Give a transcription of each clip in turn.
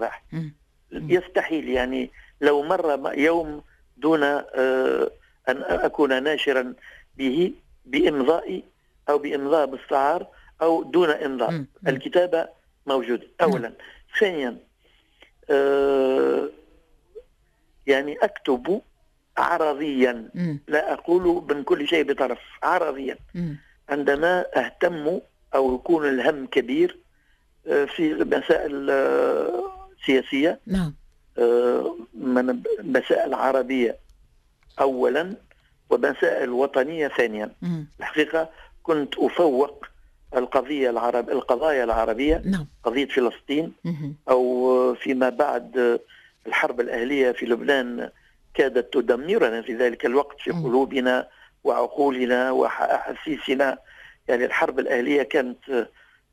الصباح. يستحيل يعني لو مر يوم دون أن أكون ناشرا به بإمضائي أو بإمضاء مستعار أو دون إمضاء. الكتابة موجودة أولا. ثانيا يعني أكتب عرضيا، لا أقول من كل شيء بطرف، عرضيا. عندما أهتم أو يكون الهم كبير في مسائل سياسية، نعم، من مسائل عربية أولا ومسائل وطنية ثانيا. الحقيقة كنت أفوق القضية القضايا العربية، نعم، قضية فلسطين أو فيما بعد الحرب الأهلية في لبنان كادت تدمرنا في ذلك الوقت في قلوبنا وعقولنا وأحاسيسنا. يعني الحرب الأهلية كانت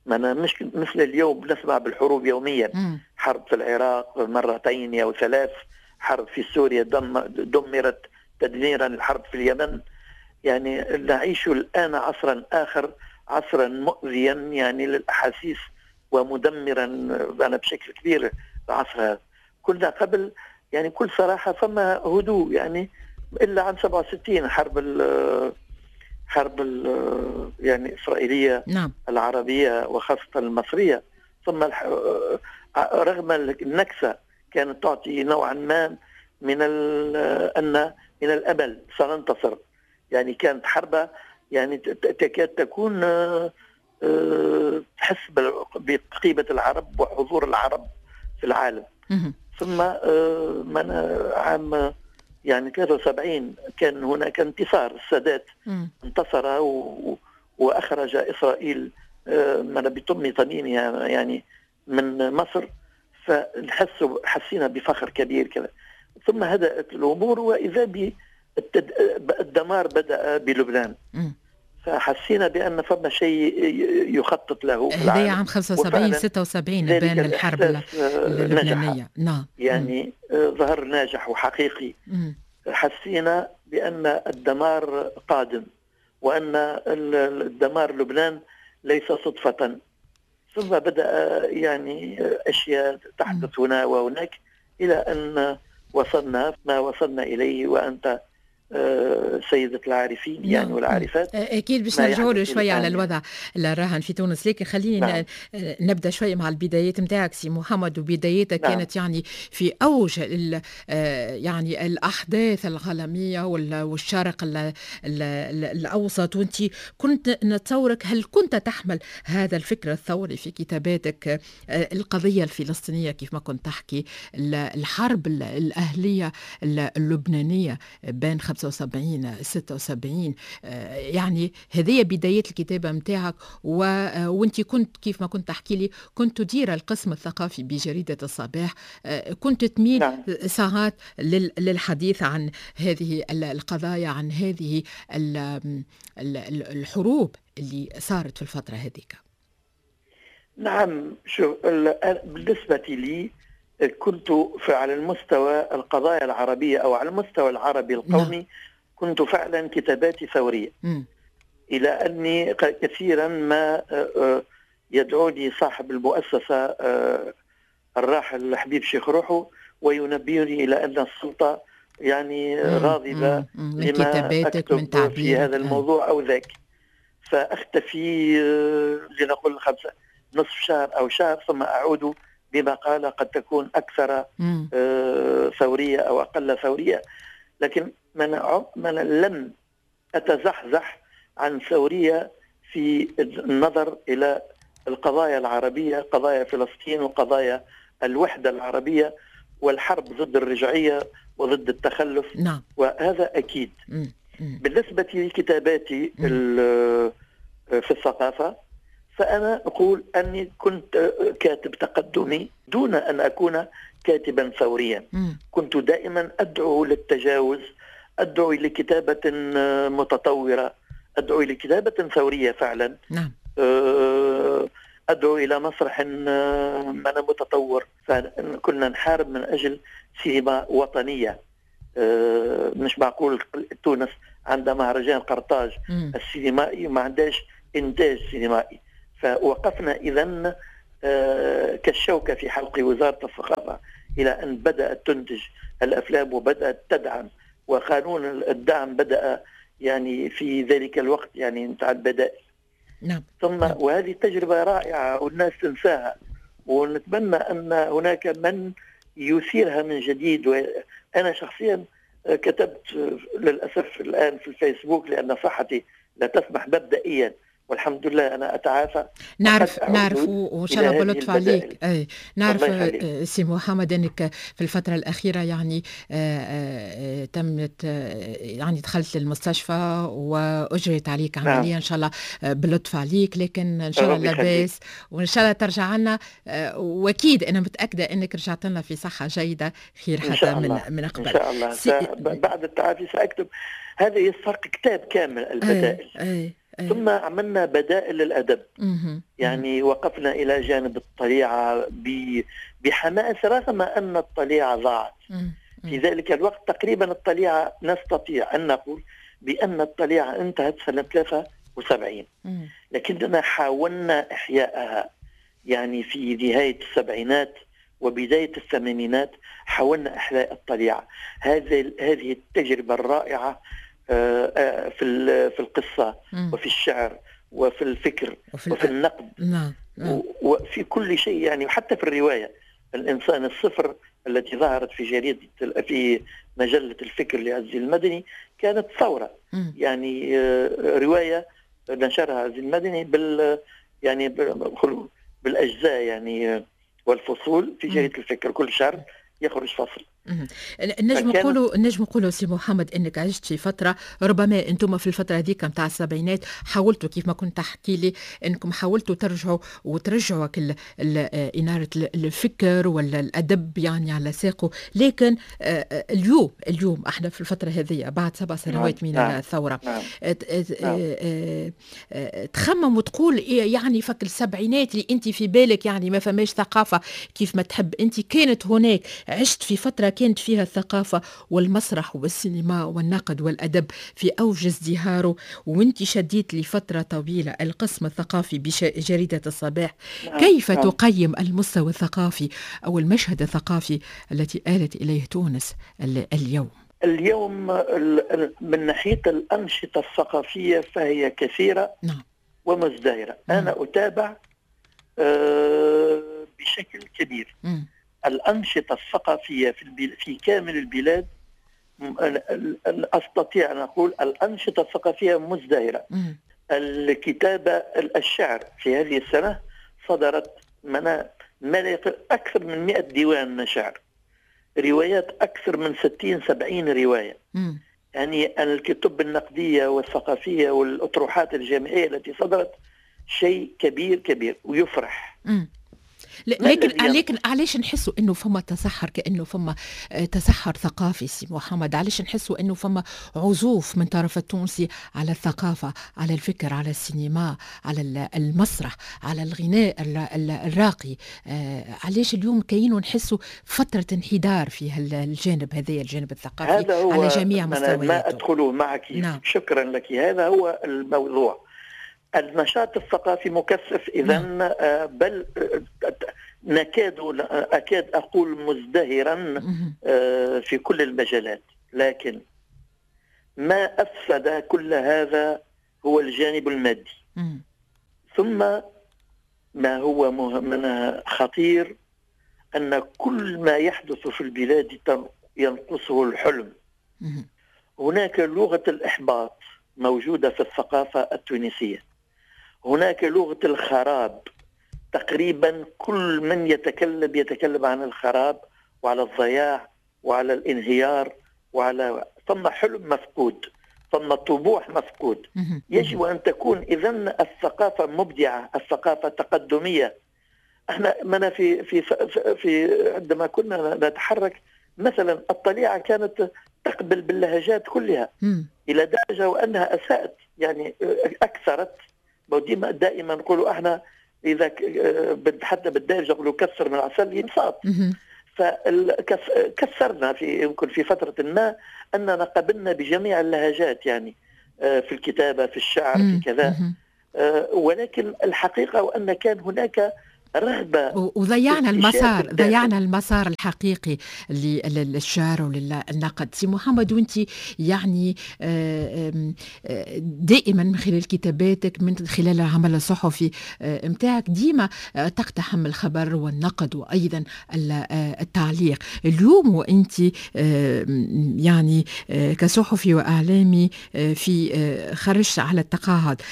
مش مثل اليوم نسمع بالحروب يوميا. حرب في العراق مرتين أو ثلاث، حرب في سوريا دمرت تدميرا، الحرب في اليمن. يعني نعيش الآن عصرا آخر، عصرا مؤذيا يعني للأحاسيس ومدمرا أنا بشكل كبير العصر هذا. كنا قبل يعني كل صراحة فما هدوء، يعني إلا عام 67 حرب يعني إسرائيلية، نعم، العربية وخاصة المصرية. ثم رغم النكسة كانت تعطي نوعا ما من أن من الأمل سننتصر. يعني كانت حربة يعني تكاد تكون تحس بقيمة العرب وحضور العرب في العالم. ثم من عام يعني 73 كان هناك انتصار، السادات انتصر وأخرج إسرائيل من بطم طنينها يعني من مصر. فحسينا بفخر كبير كذا. ثم هدأت الأمور وإذا بالدمار بدأ بلبنان. فحسينا بأن فما شيء يخطط له. هذا عام 75 76 بين الحرب اللبنانية، نعم، يعني ظهر ناجح وحقيقي. حسينا بأن الدمار قادم وأن الدمار لبنان ليس صدفة. ثم بدأ يعني أشياء تحدث هنا وهناك إلى أن وصلنا ما وصلنا إليه، وأنت سيدة العارفين يعني والعارفات. أكيد باش نرجعوا له شوية على الوضع الراهن في تونس، لكن خليني نعم، نبدأ شوية مع البدايات نتاعك سي محمد. وبداياتك نعم، كانت يعني في أوج يعني الأحداث العالمية والشرق الأوسط، وأنت كنت نتصورك، هل كنت تحمل هذا الفكر الثوري في كتاباتك؟ القضية الفلسطينية كيف ما كنت تحكي، الحرب الأهلية اللبنانية بين 75 76، يعني هذه بداية الكتابة متاعك. وانت كنت كيف ما كنت تحكي لي كنت تدير القسم الثقافي بجريدة الصباح، كنت تميل نعم، ساعات للحديث عن هذه القضايا، عن هذه الحروب اللي صارت في الفترة هذيك. نعم، شو بالنسبة لي كنت على المستوى القضايا العربية أو على المستوى العربي القومي، نعم، كنت فعلا كتاباتي ثورية. إلى أني كثيرا ما يدعوني صاحب المؤسسة الراحل حبيب شيخ روحه وينبهني إلى أن السلطة يعني غاضبة من لما كتاباتك، أكتب من تعبيرك في هذا الموضوع أو ذاك. فأختفي لنقول نصف شهر أو شهر، ثم أعود بما قال قد تكون أكثر ثورية أو أقل ثورية. لكن من لم أتزحزح عن ثورية في النظر إلى القضايا العربية، قضايا فلسطين وقضايا الوحدة العربية والحرب ضد الرجعية وضد التخلف، نعم، وهذا أكيد. بالنسبة لكتاباتي في الثقافة، فأنا أقول أني كنت كاتب تقدمي دون أن أكون كاتبا ثوريا. كنت دائما أدعو للتجاوز، أدعو لكتابة متطورة، أدعو لكتابة ثورية فعلا، نعم، أدعو إلى مسرح من متطور. فكنا نحارب من أجل سينما وطنية. مش معقول تونس عندها مهرجان قرطاج السينمائي وما عندهاش إنتاج سينمائي. فوقفنا إذن كالشوكة في حلق وزارة الثقافة إلى أن بدأت تنتج الأفلام وبدأت تدعم، وقانون الدعم بدأ يعني في ذلك الوقت يعني نتاع البدائل. نعم. ثم نعم. وهذه تجربة رائعة والناس تنساها، ونتمنى أن هناك من يثيرها من جديد. وأنا شخصيا كتبت للأسف الآن في الفيسبوك لأن صحتي لا تسمح مبدئيا، والحمد لله أنا أتعافى. نعرف وإن شاء الله بلطف عليك. أي نعرف سي محمد أنك في الفترة الأخيرة يعني تمت يعني دخلت للمستشفى وأجريت عليك عملية. نعم. إن شاء الله بلطف عليك، لكن إن شاء الله لاباس وإن شاء الله ترجع لنا، وأكيد أنا متأكدة أنك رجعت لنا في صحة جيدة خير حتى من قبل. إن شاء الله بعد التعافي سأكتب هذا يستحق كتاب كامل البدائل. أي. ثم عملنا بدائل للأدب. يعني وقفنا إلى جانب الطليعة بحماس رغم أن الطليعة ضاعت. في ذلك الوقت تقريبا الطليعة نستطيع أن نقول بأن الطليعة انتهت سنة 73، لكننا حاولنا إحياءها يعني في نهاية السبعينات وبداية الثمانينات حاولنا إحياء الطليعة. هذه التجربة الرائعة في القصة وفي الشعر وفي الفكر وفي النقد وفي كل شيء يعني، وحتى في الرواية الإنسان الصفر التي ظهرت في جريدة في مجلة الفكر لعزي المدني كانت ثورة. يعني رواية نشرها عزي المدني يعني بالأجزاء يعني والفصول في جريدة الفكر، كل شهر يخرج فصل. نجم نقولوا سي محمد انك عشت في فترة، ربما انتم في الفترة هذيك نتاع السبعينات حاولتوا كيف ما كنت تحكي لي انكم حاولتوا ترجعوا وترجعوا كل انارة الفكر ولا الادب يعني على ساقه، لكن اليوم احنا في الفترة هذه بعد 7 سنوات من الثورة تخمم وتقول يعني فك السبعينات اللي انت في بالك يعني ما فماش ثقافة كيف ما تحب انت، كانت هناك، عشت في فترة كانت فيها الثقافة والمسرح والسينما والنقد والأدب في أوج ازدهاره، وانت شديت لفترة طويلة القسم الثقافي بجريدة الصباح. كيف تقيم المستوى الثقافي أو المشهد الثقافي التي آلت إليه تونس اليوم؟ اليوم من ناحية الأنشطة الثقافية فهي كثيرة. نعم. ومزدهرة. أنا أتابع بشكل كبير. الأنشطة الثقافية في كامل البلاد، أستطيع أن أقول الأنشطة الثقافية مزدهرة. الكتابة، الشعر في هذه السنة صدرت ما لا يقل أكثر من 100 ديوان شعر، روايات أكثر من 60-70 رواية. يعني الكتب النقدية والثقافية والأطروحات الجامعية التي صدرت شيء كبير كبير ويفرح. لكن علاش نحسوا انه فما تسحر، كانه فما تسحر ثقافي سي محمد؟ علاش نحسوا انه فما عزوف من طرف التونسي على الثقافة، على الفكر، على السينما، على المسرح، على الغناء الراقي؟ علاش اليوم كاينوا نحسوا فترة انحدار في الجانب هذا، الجانب الثقافي هذا هو على جميع مستوياته؟ ما ادخله معك. نعم. شكرا لك. هذا هو الموضوع. النشاط الثقافي مكثف إذن. بل نكاد أكاد أقول مزدهرا في كل المجالات، لكن ما أفسد كل هذا هو الجانب المادي. ثم ما هو من خطير أن كل ما يحدث في البلاد ينقصه الحلم. هناك لغة الإحباط موجودة في الثقافة التونسية، هناك لغة الخراب، تقريبا كل من يتكلم يتكلم عن الخراب وعلى الضياع وعلى الانهيار وعلى ثم حلم مفقود، ثم طموح مفقود. يجب أن تكون إذن الثقافة مبدعة، الثقافة تقدمية. احنا منا في في في عندما كنا نتحرك مثلا الطليعة كانت تقبل باللهجات كلها إلى درجة وأنها أساءت، يعني أكثرت. دائما نقولوا احنا إذا حتى بالدارجة نقولوا كسر من العسل ينصاب. فكسرنا في يمكن في فترة ما أننا قبلنا بجميع اللهجات، يعني في الكتابة، في الشعر، في كذا. ولكن الحقيقة وأن كان هناك رغبة، وضيعنا المسار، ضيعنا المسار الحقيقي للشعر وللنقد. سي محمد، وانت يعني دائما من خلال كتاباتك، من خلال العمل الصحفي متاعك، ديما تقتحم الخبر والنقد وايضا التعليق. اليوم وانت يعني كصحفي واعلامي في خرجت على التقاعد،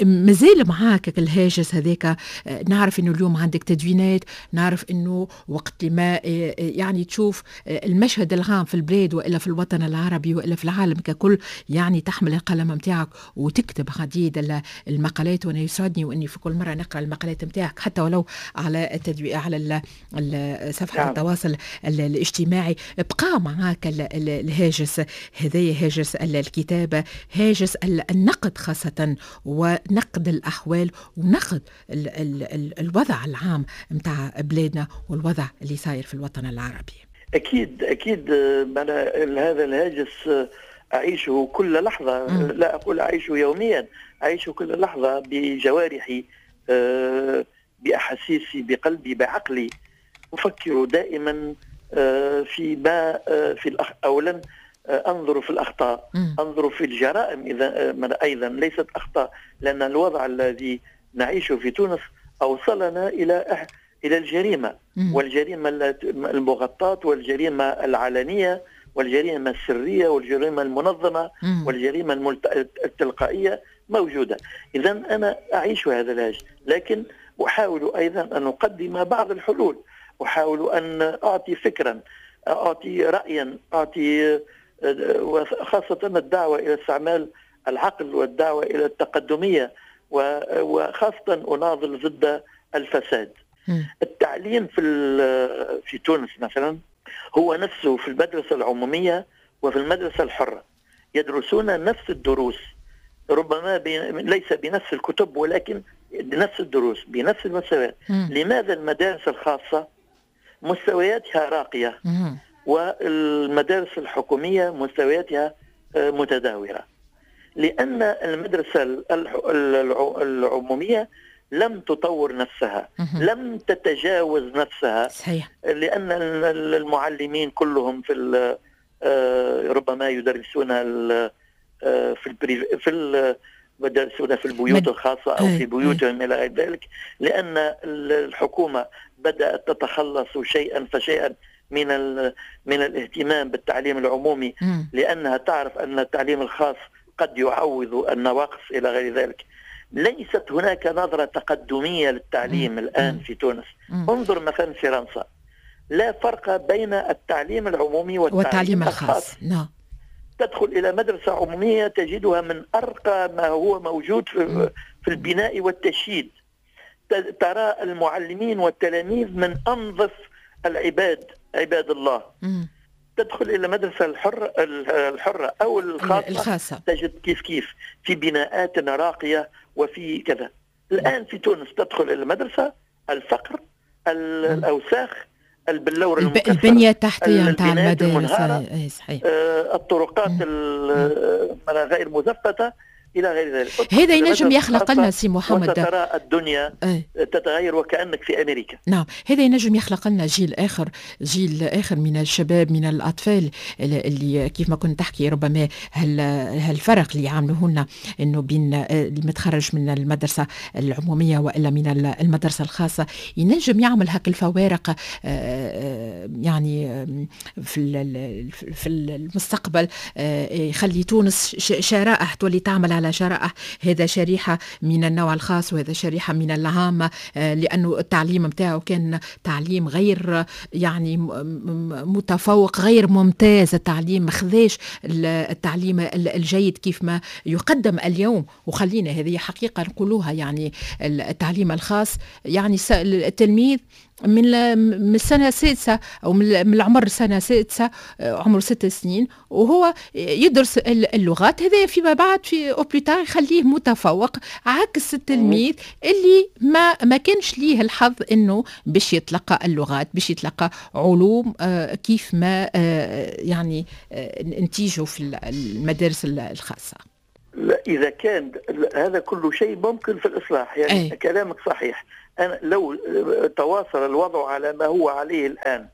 مازال معاك الهاجس هذاك؟ نعرف انه اليوم عندك تدوينات، نعرف انه وقت ما يعني تشوف المشهد العام في البلاد والا في الوطن العربي والا في العالم ككل، يعني تحمل القلم نتاعك وتكتب عديد المقالات، وانا يسعدني واني في كل مرة نقرا المقالات نتاعك حتى ولو على التدوين على صفحة التواصل الاجتماعي. بقى معاك الهاجس هذايا، هاجس الكتابة، هاجس النقد خاصة، ونقد الاحوال ونقد الوضع العام متاع بلادنا والوضع اللي صاير في الوطن العربي. أكيد أكيد، هذا الهاجس أعيشه كل لحظة. لا أقول أعيشه يوميا، أعيشه كل لحظة بجوارحي، بأحاسيسي، بقلبي، بعقلي. أفكر دائما في ما في أولا أنظر في الأخطاء، أنظر في الجرائم إذا أيضا ليست أخطاء، لأن الوضع الذي نعيشه في تونس أوصلنا إلى الجريمة، والجريمة المغطاة والجريمة العلنية والجريمة السرية والجريمة المنظمة والجريمة التلقائية موجودة. إذا أنا أعيش هذا الهاجس، لكن أحاول أيضا أن أقدم بعض الحلول، أحاول أن أعطي فكرا، أعطي رأيا، أعطي، وخاصة الدعوة إلى استعمال العقل والدعوة إلى التقدمية، وخاصة أناضل ضد الفساد. التعليم في تونس مثلا هو نفسه في المدرسة العمومية وفي المدرسة الحرة، يدرسون نفس الدروس، ربما ليس بنفس الكتب ولكن بنفس الدروس بنفس المستويات. لماذا المدارس الخاصة مستوياتها راقية والمدارس الحكومية مستوياتها متدهورة؟ لأن المدرسة العمومية لم تطور نفسها، لم تتجاوز نفسها. صحيح. لأن المعلمين كلهم في ربما يدرسون في يدرسون في البيوت الخاصة أو في بيوتهم إلى غير ذلك، لأن الحكومة بدأت تتخلص شيئا فشيئا من الاهتمام بالتعليم العمومي، لأنها تعرف أن التعليم الخاص قد يعوض النواقص إلى غير ذلك. ليست هناك نظرة تقدمية للتعليم الآن في تونس. انظر مثلا فرنسا، لا فرق بين التعليم العمومي والتعليم الخاص. نعم. تدخل إلى مدرسة عمومية تجدها من أرقى ما هو موجود في البناء والتشييد، ترى المعلمين والتلاميذ من أنظف العباد، عباد الله. تدخل إلى مدرسة الحرة أو الخاصة تجد كيف كيف في بناءات راقية وفي كذا. الآن في تونس تدخل إلى المدرسة، الفقر، الأوساخ، البلور المكسر، البنية التحتية نتاع المدارس، صحيح، الطرقات غير مزفتة إلى غير ذلك. هذا ينجم يخلق لنا سي محمد، وترى الدنيا تتغير وكأنك في أمريكا. نعم، هذا ينجم يخلق لنا جيل آخر، جيل آخر من الشباب، من الأطفال اللي كيف ما كنت تحكي ربما هالفرق اللي يعملوه لنا إنه بين المتخرج من المدرسة العمومية وإلا من المدرسة الخاصة، ينجم يعمل هاك الفوارق يعني في المستقبل، يخلي تونس شرائح تولي تعمل على شرائح، هذا شريحة من النوع الخاص وهذا شريحة من العامة، لأنه التعليم متاعه كان تعليم غير يعني متفوق، غير ممتاز، التعليم ما خذاش التعليم الجيد كيف ما يقدم اليوم. وخلينا هذه حقيقة نقولوها، يعني التعليم الخاص يعني التلميذ من السنة السادسة أو من العمر السنة السادسة، عمره 6 سنين، وهو يدرس اللغات، هذا فيما بعد في au plus tard يخليه متفوق، عكس التلميذ اللي ما كانش ليه الحظ انه باش يتلقى اللغات، باش يتلقى علوم كيف ما يعني نتيجة في المدارس الخاصة. لا، إذا كان هذا كل شيء ممكن في الإصلاح، يعني كلامك صحيح. أنا لو تواصل الوضع على ما هو عليه الآن،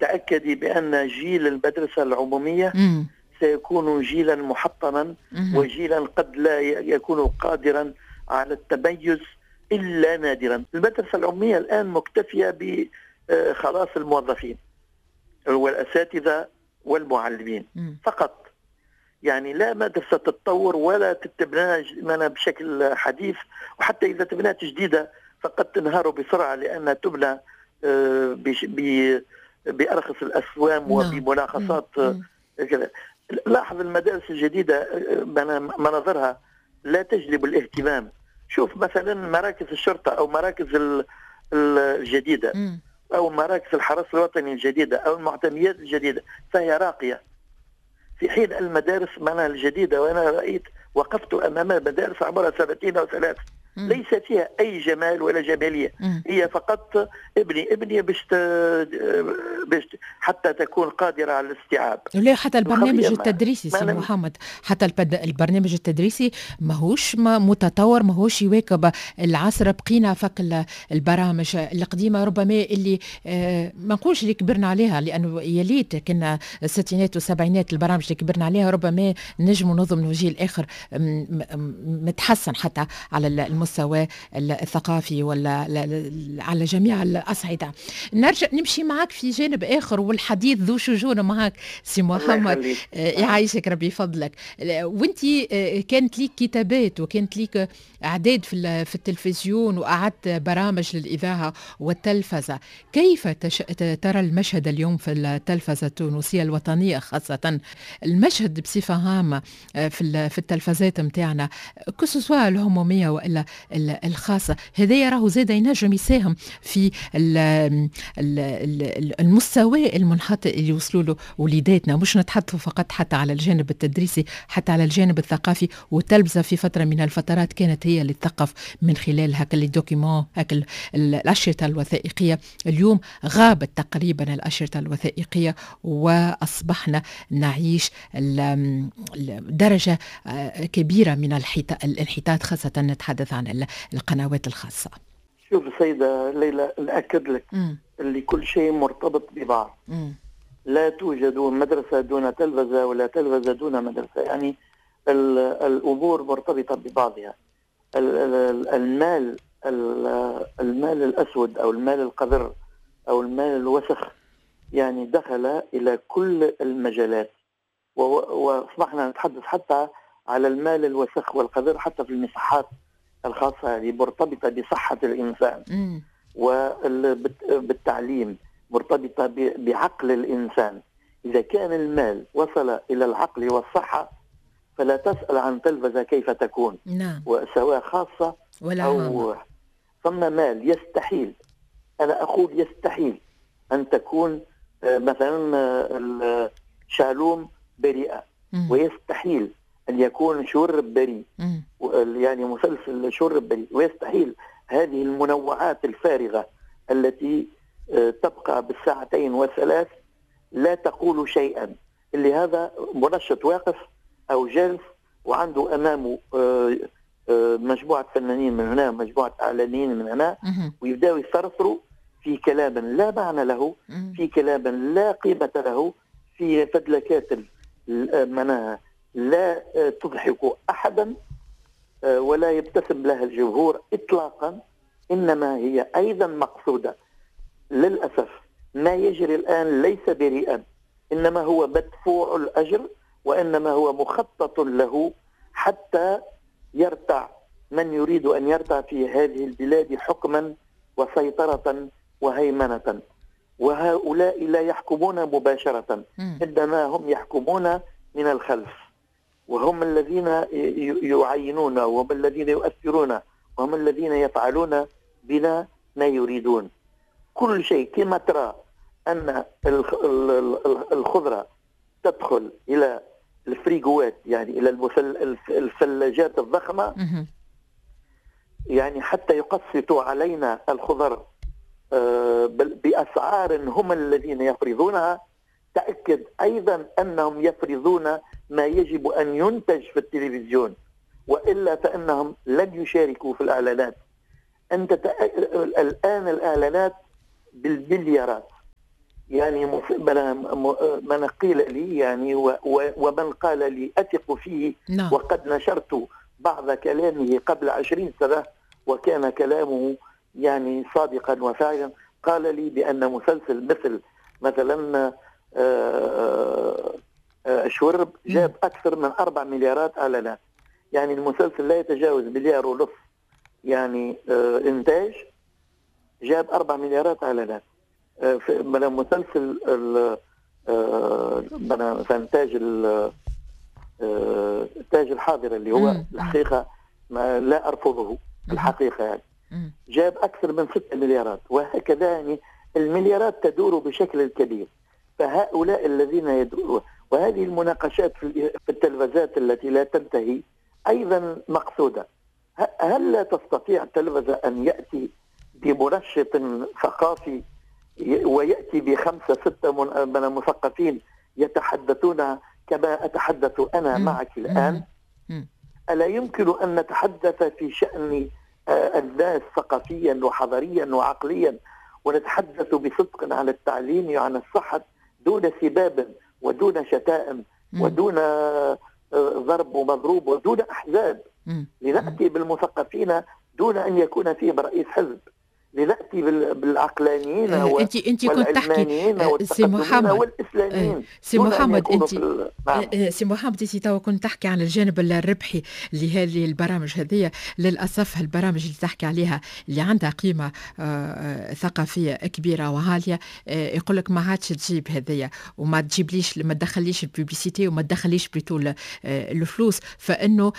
تأكدي بأن جيل المدرسة العمومية سيكون جيلا محطما، وجيلا قد لا يكون قادرا على التميز إلا نادرا. المدرسة العمومية الآن مكتفية بخلاص الموظفين والأساتذة والمعلمين فقط، يعني لا مدرسة تتطور ولا تتبنى بشكل حديث، وحتى إذا تبنات جديدة فقد تنهار بسرعة لأنها تبنى بأرخص الأسوام وبملاخصات كذا. لاحظ المدارس الجديدة مناظرها لا تجلب الاهتمام. شوف مثلا مراكز الشرطة أو مراكز الجديدة أو مراكز الحرس الوطني الجديدة أو المعتميات الجديدة، فهي راقية، في حين المدارس معناها الجديدة، وأنا رأيت وقفت أمام مدارس عمرها 2 أو 3 ليس فيها أي جمال ولا جمالية، هي فقط ابني باش حتى تكون قادرة على الاستيعاب. لا حتى البرنامج التدريسي سي محمد، حتى البرنامج التدريسي ماهوش متطور، ماهوش يواكب العصر. بقينا فك البرامج القديمة ربما اللي ما نقولش اللي كبرنا عليها، لأنه يا ليت كنا الستينات والسبعينات البرامج اللي كبرنا عليها ربما نجموا نضمنوا جيل آخر متحسن حتى على المستوى الثقافي ولا على جميع الأصعدة. نرجع نمشي معك في جانب آخر، والحديث ذو شجون معك سي محمد، يعيشك ربي يفضلك. وانت كانت ليك كتابات وكانت ليك أعداد في التلفزيون وأعدت برامج للإذاعة والتلفزة، كيف ترى المشهد اليوم في التلفزة التونسية الوطنية، خاصة المشهد بصفة عامة في التلفزات متاعنا كسوسوا العمومية وإلا الخاصة؟ هذا راهو زاد ينجم يساهم في المستوى المنحط اللي يوصلوا له وليداتنا، مش نتحدثوا فقط حتى على الجانب التدريسي، حتى على الجانب الثقافي. والتلفزة في فترة من الفترات كانت هي اللي تثقف من خلال هاك les documents، هاك الأشرطة الوثائقية. اليوم غابت تقريبا الأشرطة الوثائقية وأصبحنا نعيش درجة كبيرة من الانحطاط، خاصة نتحدث عن القنوات الخاصة. شوف السيدة ليلى، نأكد لك اللي كل شيء مرتبط ببعض. لا توجد مدرسة دون تلفزة ولا تلفزة دون مدرسة، يعني الأمور مرتبطة ببعضها. المال الأسود أو المال القذر أو المال الوسخ يعني دخل إلى كل المجالات، وأصبحنا نتحدث حتى على المال الوسخ والقذر حتى في المصحات الخاصة اللي مرتبطة بصحة الإنسان وبالتعليم، مرتبطة بعقل الإنسان. إذا كان المال وصل إلى العقل والصحة فلا تسأل عن تلفزة كيف تكون، نعم، وسواء خاصة ولا أو ثم مال يستحيل، أنا أقول يستحيل أن تكون مثلا شالوم بريئة، ويستحيل أن يكون شرب بريء، يعني مسلسل شرب بريء، ويستحيل هذه المنوعات الفارغة التي تبقى بالساعتين والثلاث لا تقول شيئا. اللي هذا منشط واقف أو جالس وعنده أمامه مجموعة فنانين من هنا، مجموعة إعلاميين من هنا، ويبداوا يثرثروا في كلام لا معنى له، في كلام لا قيمة له، في فدلكات معناها لا تضحك أحدا ولا يبتسم لها الجمهور إطلاقا، إنما هي أيضا مقصودة. للأسف ما يجري الآن ليس بريئا، إنما هو مدفوع الأجر، وإنما هو مخطط له حتى يرتع من يريد أن يرتع في هذه البلاد حكما وسيطرة وهيمنة. وهؤلاء لا يحكمون مباشرة، إنما هم يحكمون من الخلف، وهم الذين يعينون، وهم الذين يؤثرون، وهم الذين يفعلون بنا ما يريدون. كل شيء كما ترى أن الخضرة تدخل إلى الفريغوات، يعني إلى الثلاجات الضخمة، يعني حتى يقسطوا علينا الخضر بأسعار هم الذين يفرضونها. تأكد أيضا أنهم يفرضون ما يجب أن ينتج في التلفزيون، وإلا فإنهم لن يشاركوا في الإعلانات. أنت الآن الإعلانات بالمليارات، يعني من قيل لي يعني ومن قال لي أثق فيه. وقد نشرت بعض كلامه قبل 20 سنة وكان كلامه يعني صادقا وفاعلا. قال لي بأن مسلسل مثلا شورب جاب أكثر من 4 مليارات إعلانات، يعني المسلسل لا يتجاوز 1.5 مليار يعني إنتاج، جاب 4 مليارات إعلانات. من مسلسل مثلا تاج الحاضرة اللي هو الحقيقة ما لا أرفضه الحقيقة يعني جاب أكثر من 6 مليارات، وهكذا يعني المليارات تدور بشكل كبير. فهؤلاء الذين يدورون، وهذه المناقشات في التلفزات التي لا تنتهي أيضا مقصودة. هل لا تستطيع التلفزة أن يأتي بمنشط ثقافي ويأتي ب5 6 من المثقفين يتحدثون كما أتحدث أنا معك الآن؟ ألا يمكن أن نتحدث في شأن الناس ثقافيا وحضاريا وعقليا، ونتحدث بصدق عن التعليم وعن الصحة دون سباب ودون شتائم ودون ضرب ومضروب ودون أحزاب؟ لنأتي بالمثقفين دون أن يكون فيهم رئيس حزب، لنأتي بالعقلانيين انت كنت تحكي سي محمد والإسلاميين. سي محمد انت نعم. سي محمد انت توا كنت تحكي عن الجانب الربحي لهذه البرامج هذه. للأسف البرامج اللي تحكي عليها اللي عندها قيمة ثقافية كبيرة وعالية يقول لك ما عادش تجيب هذيا، وما تجيبليش، ما تدخليش ال publicité وما تدخليش plutôt الفلوس. فإنه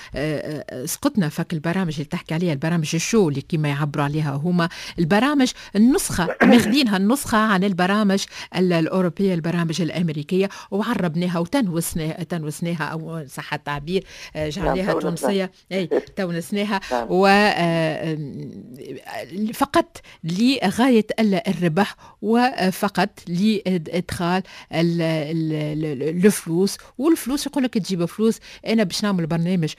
سقطنا فك البرامج اللي تحكي عليها، البرامج ال show اللي كما يعبروا عليها هما البرامج النسخة، ماخذينها النسخة عن البرامج الأوروبية، البرامج الأمريكية، وعربناها وتنوسناها أو صح التعبير جعلناها تونسية، أي تونسناها، و فقط لغاية الربح وفقط لإدخال الفلوس. والفلوس يقول لك تجيب فلوس، أنا باش نعمل برنامج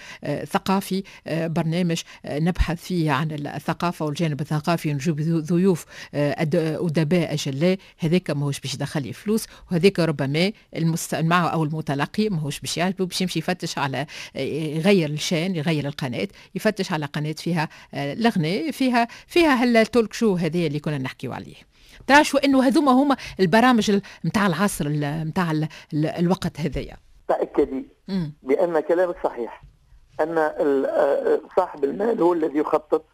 ثقافي، برنامج نبحث فيه عن الثقافة والجانب الثقافي، نجيب ضيوف أدباء أجلاء، هذاك ماهوش باش يدخل لي فلوس، وهذاك ربما المستمع أو المتلقي ماهوش باش يعجبه، باش يمشي يفتش على يغير ال chaîne، يغير القناة، يفتش على قناة فيها الغناء، فيها هال talk show هذه اللي كنا نحكيو عليه. ترى شو انه هذوما هما البرامج نتاع العصر نتاع الوقت هذايا. تأكدي بأن كلامك صحيح، أن صاحب المال هو الذي يخطط،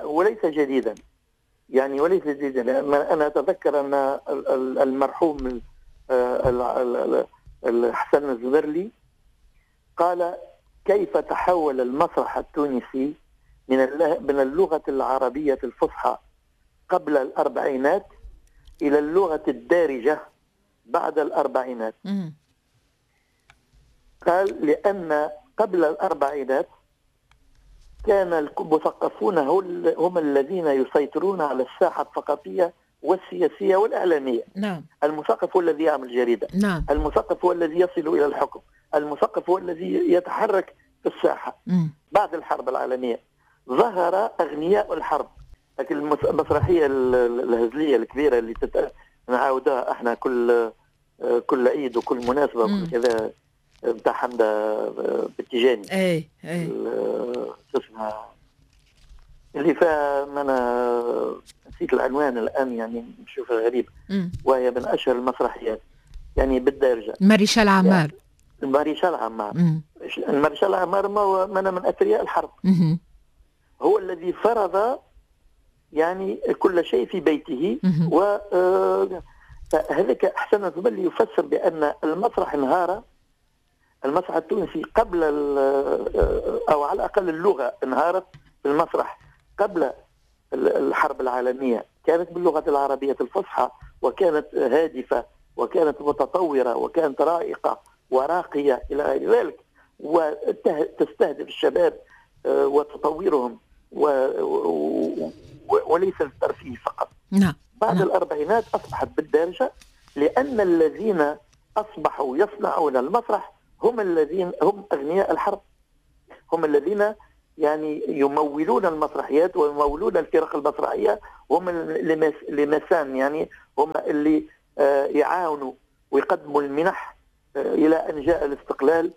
وليس جديدا، يعني وليس جديدا. أنا أتذكر أن المرحوم الحسن الزبرلي قال كيف تحول المسرح التونسي من اللغة العربية الفصحى قبل الأربعينات إلى اللغة الدارجة بعد الأربعينات. قال لأن قبل الأربعينات كان المثقفون هم الذين يسيطرون على الساحة الثقافية والسياسية والإعلامية. نعم. المثقف هو الذي يعمل جريدة. نعم. المثقف هو الذي يصل إلى الحكم، المثقف هو الذي يتحرك في الساحة. بعد الحرب العالمية ظهر أغنياء الحرب، لكن المسرحية الهزلية الكبيرة اللي نعاودها احنا كل عيد وكل مناسبة وكل كذا، بتاع حمدة بالتيجاني. اي اي اسمها اللي فيها، انا نسيت العنوان الان، يعني نشوف غريب، وهي من اشهر المسرحيات يعني بالدارجة. ماريشال عمار. يعني ماريشال عمار. الماريشال عمار ما من اثرياء الحرب. هو الذي فرض يعني كل شيء في بيته. و هذاك احسن الزمن يفسر بان المسرح انهار، المسرح التونسي قبل او على الاقل اللغة انهارت في المسرح قبل الحرب العالمية، كانت باللغة العربية الفصحى، وكانت هادفة وكانت متطورة وكانت رائقه وراقيه الى غير ذلك، وتستهدف الشباب وتطورهم وليس الترفيه فقط. نعم. بعد الأربعينات أصبحت بالدارجة، لأن الذين أصبحوا يصنعون المسرح هم الذين هم أغنياء الحرب، هم الذين يعني يمولون المسرحيات ويمولون الفرق المسرحية، هم les mécènes، يعني هم اللي يعاونوا ويقدموا المنح إلى أن جاء الاستقلال،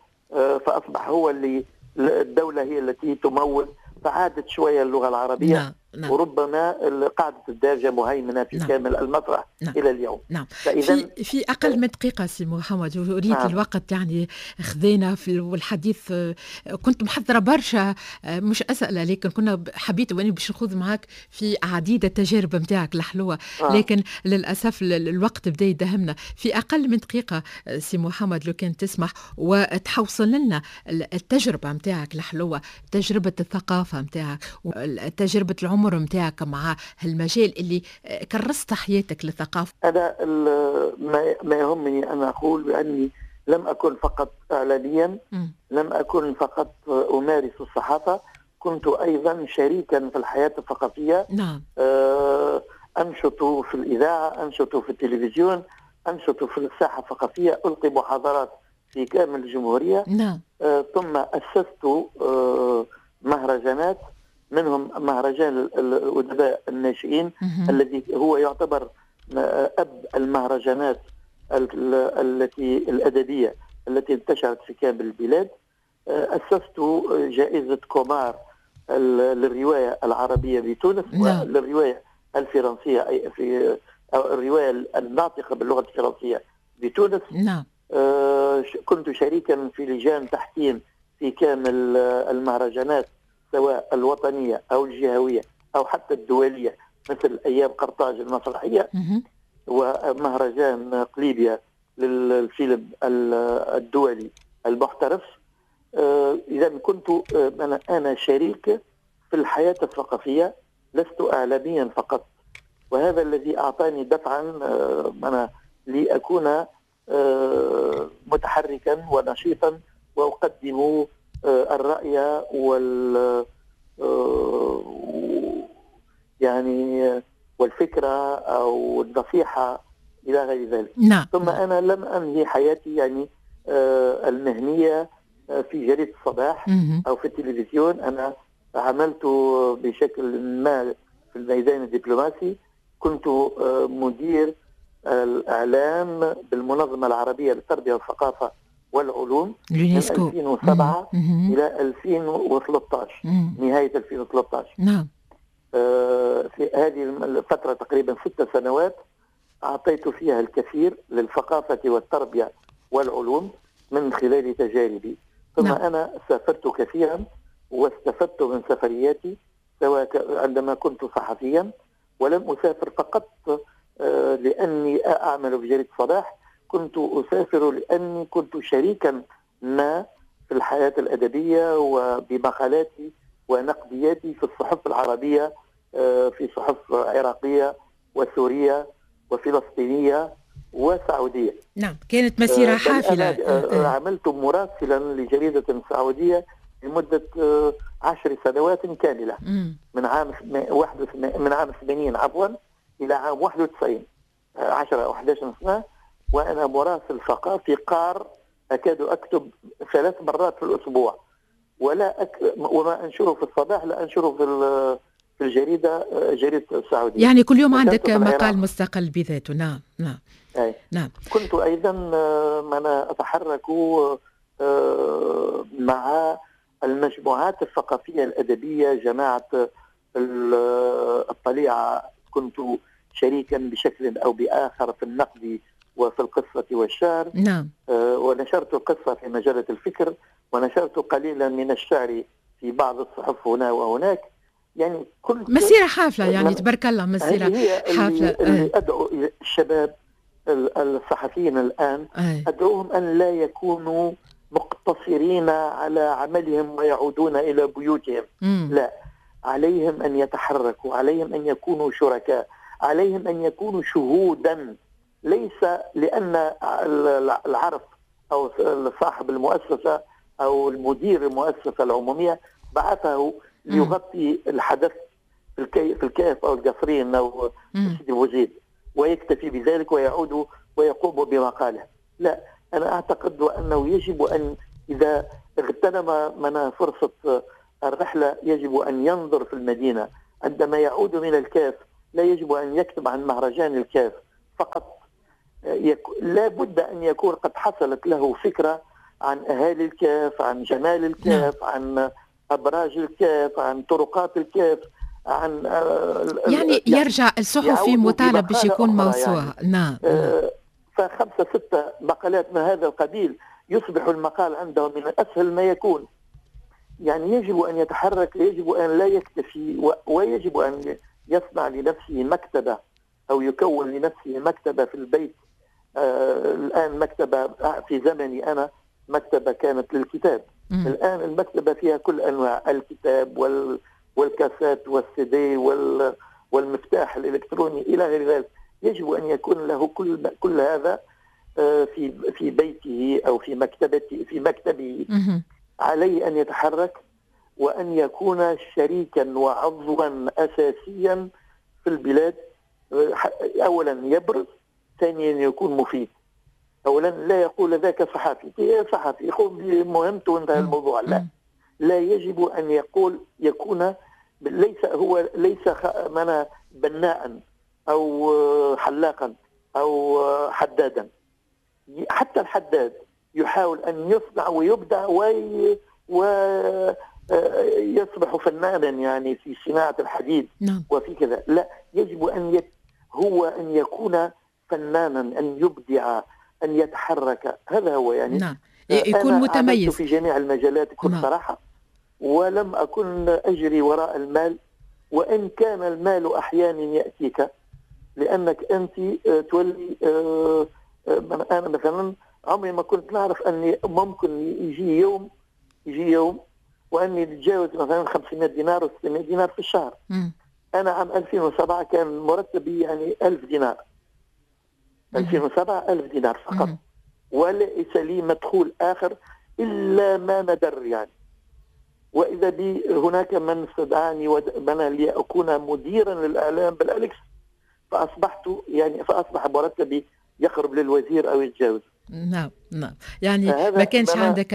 فأصبح هو اللي الدولة هي التي تمول، فعادت شوية اللغة العربية. نعم. نعم. وربما قاعدة الدارجة مهيمنة في نعم. كامل المسرح نعم. إلى اليوم. نعم. فإذا في أقل من دقيقة سي محمد، أريد نعم. الوقت يعني خذينا في الحديث، كنت محضرة برشا مش أسئلة، لكن كنا حبيت وأنا باش نخوض معك في عديد التجارب نتاعك الحلوة، لكن للأسف الوقت بدا يدهمنا. في أقل من دقيقة سي محمد لو كان تسمح وتحوصل لنا التجربة نتاعك الحلوة، تجربة الثقافة نتاعك، تجربة العمر متاعك مع هالمجال اللي كرست حياتك للثقافة. أنا ما يهمني أن أقول بأني لم أكن فقط إعلاميا، لم أكن فقط أمارس الصحافة، كنت أيضا شريكا في الحياة الثقافية. نعم. أنشط في الإذاعة، أنشط في التلفزيون، أنشط في الساحة الثقافية، ألقي محاضرات في كامل الجمهورية. نعم. ثم أسست مهرجانات، منهم مهرجان الأدباء الناشئين الذي هو يعتبر أب المهرجانات التي الأدبية التي انتشرت في كامل البلاد. أسست جائزة كومار للرواية العربية بتونس، نعم. للرواية الفرنسية، أي في الرواية الناطقة باللغة الفرنسية بتونس. نعم. كنت شريكا في لجان تحكيم في كامل المهرجانات، سواء الوطنية أو الجهوية أو حتى الدولية، مثل أيام قرطاج المسرحية ومهرجان قليبيا للفيلم الدولي المحترف. إذا كنت أنا شريك في الحياة الثقافية، لست إعلاميا فقط، وهذا الذي أعطاني دفعا أنا لأكون متحركا ونشيطا وأقدم الرأي وال يعني والفكرة أو النصيحة إلى غير ذلك. نعم. ثم أنا لم أنهي حياتي يعني المهنية في جريدة الصباح أو في التلفزيون. أنا عملت بشكل ما في الميدان الدبلوماسي، كنت مدير الإعلام بالمنظمة العربية للتربية والثقافة والعلوم من اليونسكو 2007 إلى 2013، نهاية 2013. نعم. في هذه الفترة تقريبا 6 سنوات أعطيت فيها الكثير للثقافة والتربية والعلوم من خلال تجاربي. ثم نعم. أنا سافرت كثيرا واستفدت من سفرياتي، سواء عندما كنت صحفيا، ولم أسافر فقط لأني أعمل في جريدة الصباح، كنت أسافر لأني كنت شريكا ما في الحياة الأدبية وبمقالاتي ونقدياتي في الصحف العربية، في صحف عراقية وسورية وفلسطينية وسعودية. نعم، كانت مسيرة بل حافلة. أنا عملت مراسلا لجريدة سعودية لمدة 10 سنوات كاملة، من عام من عام 80 عفوا إلى عام 91، 10 أو 11 سنة، وأنا مراسل ثقافي قار، أكاد أكتب 3 مرات في الأسبوع، وما أنشره في الصباح لا أنشره في الجريدة، جريدة السعودية. يعني كل يوم وكنت عندك في العراق. مقال مستقل بذاته. نعم نعم. أي. نعم. كنت أيضا أنا أتحرك مع المجموعات الثقافية الأدبية، جماعة الطليعة، كنت شريكا بشكل أو بآخر في النقد وفي القصة والشعر. نعم. ونشرت القصة في مجلة الفكر، ونشرت قليلا من الشعر في بعض الصحف هنا وهناك. يعني كنت مسيرة حافلة، يعني من تبارك الله، مسيرة هذه هي حافلة. اللي أدعو الشباب الصحفيين الآن، أدعوهم أن لا يكونوا مقتصرين على عملهم ويعودون إلى بيوتهم. لا، عليهم أن يتحركوا، عليهم أن يكونوا شركاء، عليهم أن يكونوا شهودا، ليس لأن العرف أو صاحب المؤسسة أو المدير المؤسسة العمومية بعثه ليغطي الحدث في الكاف أو القصرين أو سيدي بوزيد ويكتفي بذلك ويعود ويقوم بمقاله. لا، أنا أعتقد أنه يجب أن إذا اغتنم من فرصة الرحلة يجب أن ينظر في المدينة. عندما يعود من الكاف لا يجب أن يكتب عن مهرجان الكاف فقط، لا بد أن يكون قد حصلت له فكرة عن أهالي الكاف، عن جمال الكاف، عن أبراج الكاف، عن طرقات الكاف، عن يعني يرجع الصحفي مطالب باش يكون موسوعة يعني. نعم. فخمسة ستة مقالات من هذا القبيل يصبح المقال عنده من أسهل ما يكون. يعني يجب أن يتحرك، يجب أن لا يكتفي، ويجب أن يصنع لنفسه مكتبة أو يكون لنفسه مكتبة في البيت. الآن مكتبة، في زمني أنا مكتبة كانت للكتاب. الآن المكتبة فيها كل أنواع الكتاب والكاسات والسيدي والمفتاح الإلكتروني إلى غير ذلك. يجب أن يكون له كل هذا في بيته أو في مكتبته، في مكتبه. عليه أن يتحرك وأن يكون شريكا وعضوا أساسيا في البلاد. أولا يبرز، ثانيا يكون مفيد. أولا لا يقول ذاك صحفي، صحفي يقوم بمهمته وانتهى الموضوع. لا، لا يجب أن يقول، يكون ليس هو ليس بناء أو حلاقا أو حدادا. حتى الحداد يحاول أن يصنع ويبدع ويصبح فنانا يعني في صناعة الحديد. نعم. وفي كذا. لا، يجب أن هو أن يكون فنانا، أن يبدع، أن يتحرك. هذا هو يعني. نعم. يكون متميز في جميع المجالات بكل نعم. صراحة، ولم أكن أجري وراء المال، وإن كان المال أحيانا يأتيك لأنك أنت تولي. أنا مثلا عمري ما كنت نعرف أني ممكن يجي يوم وأني أتجاوز مثلا 500 دينار و 600 دينار في الشهر. أنا عام 2007 كان مرتبي يعني 1000 دينار. 2007 1000 دينار فقط. وليس لي مدخول آخر إلا ما ندر يعني. وإذا بي هناك من استدعاني لأكون مديرا للإعلام بالأليكس، فأصبحت يعني فأصبح مرتبي يقرب للوزير أو يتجاوز. نعم نعم، يعني ما كانش عندك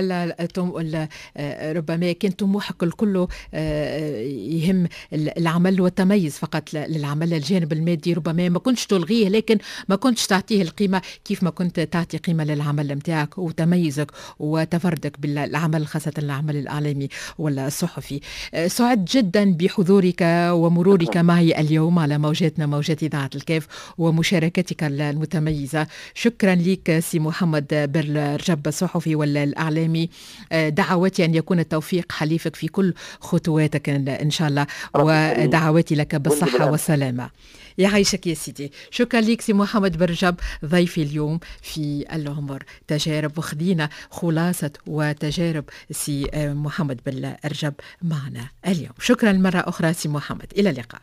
ربما كان طموحك الكل يهم العمل والتميز فقط للعمل، الجانب المادي ربما ما كنتش تلغيه، لكن ما كنتش تعطيه القيمة كيف ما كنت تعطي قيمة للعمل نتاعك وتميزك وتفردك بالعمل، خاصة العمل الإعلامي ولا الصحفي. سعد جدا بحضورك ومرورك معي اليوم على موجاتنا، موجات إذاعة الكاف، ومشاركتك المتميزة. شكرا لك سي محمد بالرجب الصحفي والإعلامي. دعواتي أن يكون التوفيق حليفك في كل خطواتك إن شاء الله، ودعواتي لك بالصحة والسلامة. يعيشك يا سيدي. شكرا لك سي محمد بالرجب ضيفي اليوم في العمر تجارب، وخذينا خلاصة وتجارب سي محمد بالرجب معنا اليوم. شكرا مرة أخرى سي محمد، إلى اللقاء.